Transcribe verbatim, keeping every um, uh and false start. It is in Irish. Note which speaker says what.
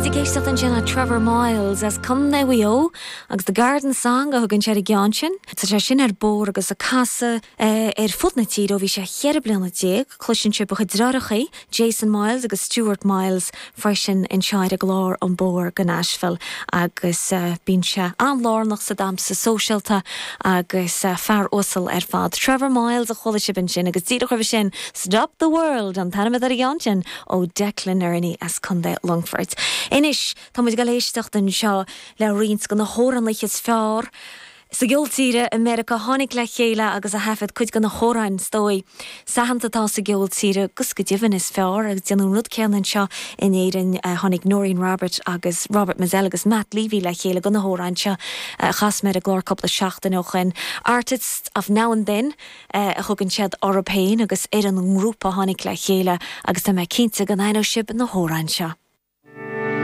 Speaker 1: Bhí muid ag éisteacht ansin le Trevor Miles as Contae Mhaigh Eo agus The Garden Song a thugann sé ar an gceann sin. Tá sé sin ar bór agus ag casadh eh, ar fud na tíre ó bhí sé cheithre bliana déag, cloiseann sibh a chuid deartháireacha, Jason Miles agus Stuart Miles freisin anseo ar an gclár An Bóthar go Nashville agus uh, bíonn sé an-lárnach sa damhsa sóisialta agus uh, fear uasal ar fad. Trevor Miles a chuala sibh ansin agus díreach roimhe sin Stop the World an t-ainm ar an gceann sin ó Declan Nerney as Contae Longfoirt. Anois tá muid ag éisteacht anseo le roinnt de na hamhránaithe is fearr. Sa gceol tíre i Meiriceá tháinig le chéile agus a thaifead cuid de na hamhráin is dóigh. Aitheanta atá sa gceol tíre agus go deimhin is fearr agus déanadh an rud céanna anseo in Éirinn tháinig Noreen Roberts agus Robert Mizzell agus Matt Levy le chéile do na hamhráin seo chas mé ar an gclár cúpla seachtain ó shin. Artists of Now and Then a thugann siad orthu féin agus ar an ngrúpa tháinig le chéile agus tá mé cinnte go n-aithneoidh sibh na hamhráin seo.